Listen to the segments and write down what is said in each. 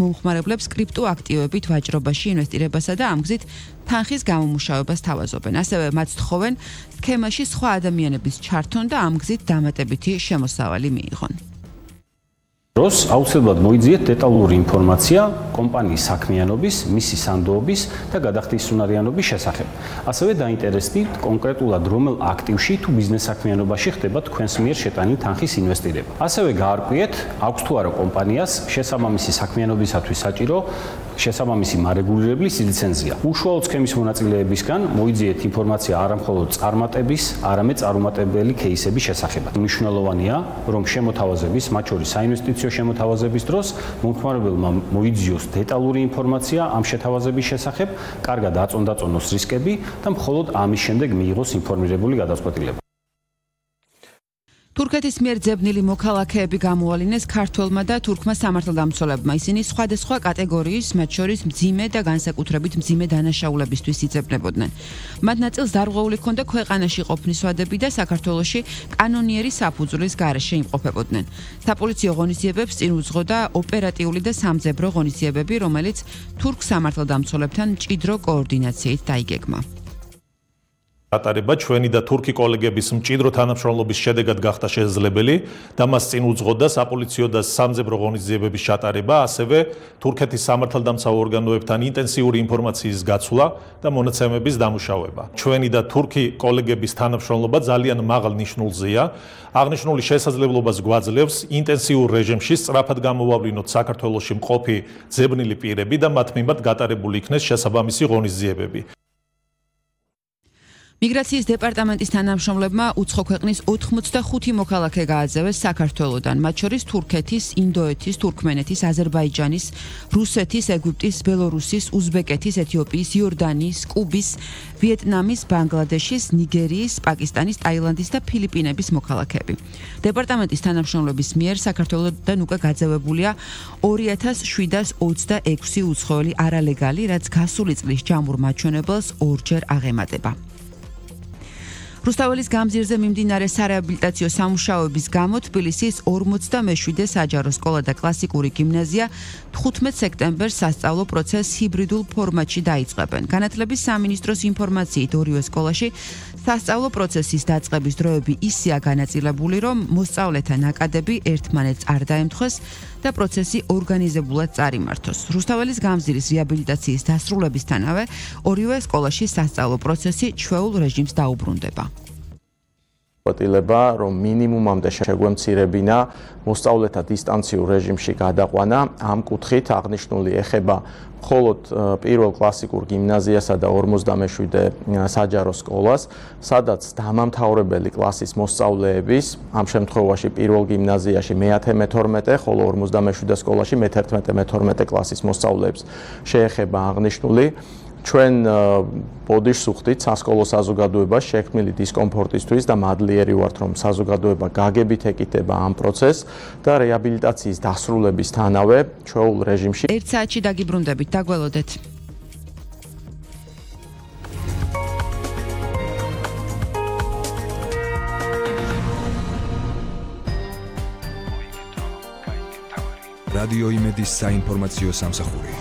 მომხმარებლებს კრიპტოაქტივებით ვაჭრობაში ინვესტირებასა და ამ გზით თანხის გამომუშავებას თავაზობენ. ასევე მათ თხოვენ სქემაში სხვა ადამიანების ჩართონ და ამ გზით დამატებითი შემოსავალი მიიღონ. დროს აუცილებლად მოიძიეთ დეტალური ინფორმაცია კომპანიის საქმიანობის, მისი სანდოობის და გადახდისუნარიანობის შესახებ. ასევე დაინტერესდით კონკრეტულად რომელ აქტივში თუ ბიზნეს საქმიანობაში ხდება თქვენს მიერ შეტანილი თანხის ინვესტირება. ასევე გაარკვიეთ, აქვს თუ არა კომპანიას შესაბამისი საქმიანობისათვის საჭირო შესაბამისი მარეგულირებლის ლიცენზია. უშუალოდ სქემის მონაწილეებისგან მოიძიეთ ინფორმაცია არა მხოლოდ წარმატების, არამედ წარუმატებელი кейსების შესახებად. მნიშვნელოვანია, რომ შემოთავაზების, მათ შორის საინვესტიციო შემოთავაზების დროს მომხმარებელმა მოიძიოს დეტალური ინფორმაცია ამ შეთავაზების შესახებ, კარგად აწონდაწონოს რისკები და მხოლოდ ამის შემდეგ მიიღოს ინფორმირებული გადაწყვეტილება. თურქეთის მიერ ძებნილი მოქალაქეები გამოალინეს ქართველმა და თურქმა სამართალდამცველებმა. ისინი სხვადასხვა კატეგორიის, მათ შორის მძიმე და განსაკუთრებით მძიმე დანაშაულებისთვის იძებნებოდნენ. მათ ნაწილს დარღვეული ჰქონდა ქვეყანაში ყოფნის ვადები და საქართველოში კანონიერი საფუძვლის გარეშე იმყოფებოდნენ. საპოლიციო ღონისძიებებს წინ უძღოდა ოპერატიული და სამძებრო ღონისძიებები, რომელიც თურქ სამართალდამცველებთან მჭიდრო კოორდინაციით დაიგეგმა. ატარება ჩვენი და თურქი კოლეგების მჭიდრო თანამშრომლობის შედეგად გახდა შესაძლებელი და მას წინ უძღოდა საპოლიციო და სამძებრო ღონისძიებების ჩატარება, ასევე თურქეთის სამართალდამცავ ორგანოებთან ინტენსიური ინფორმაციის გაცვლა და მონაცემების დამუშავება. ჩვენი და თურქი კოლეგების თანამშრომლობა ძალიან მაღალ ნიშნულზეა. აღნიშნული შესაძლებლობას გვაძლევს ინტენსიურ რეჟიმში სწრაფად გამოვავლინოთ საქართველოში მყოფი ძებნილი პირები და მათ მიმართ გატარებული იქნეს შესაბამისი ღონისძიებები. მიგრაციის დეპარტამენტის თანამშრომლებმა უცხო ქვეყნის 85 მოქალაქე გააძევეს საქართველოდან, მათ შორის თურქეთის, ინდოეთის, თურქმენეთის, აზერბაიჯანის, რუსეთის, ეგვიპტის, ბელორუსის, უზბეკეთის, ეთიოპიის, იორდანიის, კუბის, ვიეტნამის, ბანგლადეშის, ნიგერიის, პაკისტანის, ტაილანდის და ფილიპინების მოქალაქეები. დეპარტამენტის თანამშრომლების მიერ საქართველოდან უკვე გაძევებულია 2726 უცხოელი არალეგალი, რაც გასული წლის ჯამურ მაჩვენებელს ორჯერ აღემატება. რუსთაველის გამზირზე მიმდინარე სარეაბილიტაციო სამუშაოების გამო თბილისის 47 საჯარო სკოლა და კლასიკური გიმნაზია 15 სექტემბერს სასწავლო პროცესს ჰიბრიდულ ფორმატში დაიწყებენ. განათლების სამინისტროს ინფორმაციით ორივე სკოლაში სასწავლო პროცესის დაწყების დროები ისეა განაწილებული, რომ მოსწავლეთა ნაკადები ერთმანეთს არ დაემთხვეს და პროცესი ორგანიზებულად წარიმართოს. რუსთაველის გამზირის რეაბილიტაციის დასრულებისთანავე ორივე სკოლაში სასწავლო პროცესი ჩვეულ რეჟიმს დაუბრუნდება. რომ მინიმუმამდე შეგვემცირებინა მოსწავლეთა დისტანციურ რეჟიმში გადაყვანა. ამ კუთხით აღნიშნული ეხება მხოლოდ პირველ კლასიკურ გიმნაზიასა და 47 საჯარო სკოლას, სადაც დამამთავრებელი კლასის მოსწავლეების, ამ შემთხვევაში პირველ გიმნაზიაში მე-10-მე-12, ხოლო 47 სკოლაში მე-11-მე-12 კლასის მოსწავლეებს შეეხება აღნიშნული. ჩვენ ბოდიშს ვხდით სასკოლო საზოგადოებას შექმნილი დისკომფორტისთვის და მადლიერი ვართ, რომ საზოგადოება გაგებით ეკითება ამ პროცესს და რეაბილიტაციის დასრულებისთანავე ჩვეულ რეჟიმში 1 საათში დაგიბრუნდებით, დაგველოდეთ. რადიო იმედის საინფორმაციო სამსახური.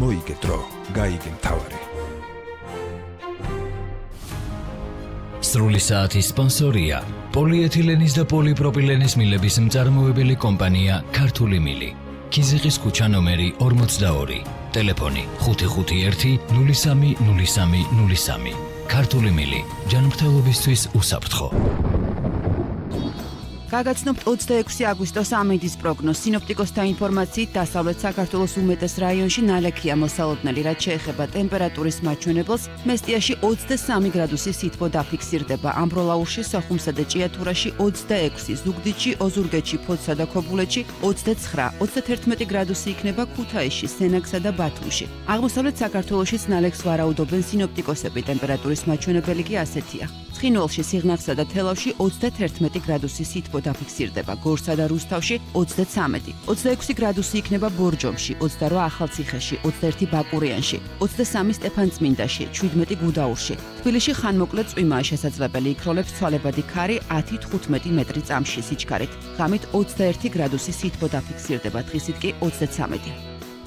მოიგეთრო, გაიგე მთავარი. სრული საათის სპონსორია პოლიეთილენის და პოლიპროპილენის მილების მწარმოებელი კომპანია ქართული მილი. ქიზიყის ქუჩა ნომერი 42, ტელეფონი 551 03 03. ქართული მილი, ჯანმრთელობისთვის უსაფრთხო. გაგაცნობთ 26 აგვისტოს ამინდის პროგნოზს. სინოპტიკოსთა ინფორმაციით დასავლეთ საქართველოს უმეტეს რაიონში ნალექია მოსალოდნელი, რაც შეეხება ტემპერატურის მაჩვენებელს. მესტიაში 23 გრადუსი სითბო დაფიქსირდება. ამბროლაურში, სოხუმსა და ჭიათურაში 26, ზუგდიდში, ოზურგეთში, ფოთსა და ქობულეთში 29, 31 გრადუსი იქნება ქუთაისში, სენაკსა და ბათუმში. აღმოსავლეთ საქართველოშიც ნალექს ვარაუდობენ სინოპტიკოსები. ტემპერატურის მაჩვენებელი კი ასეთია. ცხინვალში, სიღნაღსა და თელავში 31 გრადუსი სითბო დაფიქსირდება. გორსა და რუსთავში 33, 26 გრადუსი იქნება ბორჯომში, 28 ახალციხეში, 21 ბაკურიანში, 23 სტეფანწმინდაში, 17 გუდაურში. თბილისში ხანმოკლე წვიმაა შესაძლებელი, იქროლებს ცვალებადი ქარი 10-15 მეტრი წამში სიჩქარით. ღამით 21 გრადუსი სითბო დაფიქსირდება, დღისით კი 33.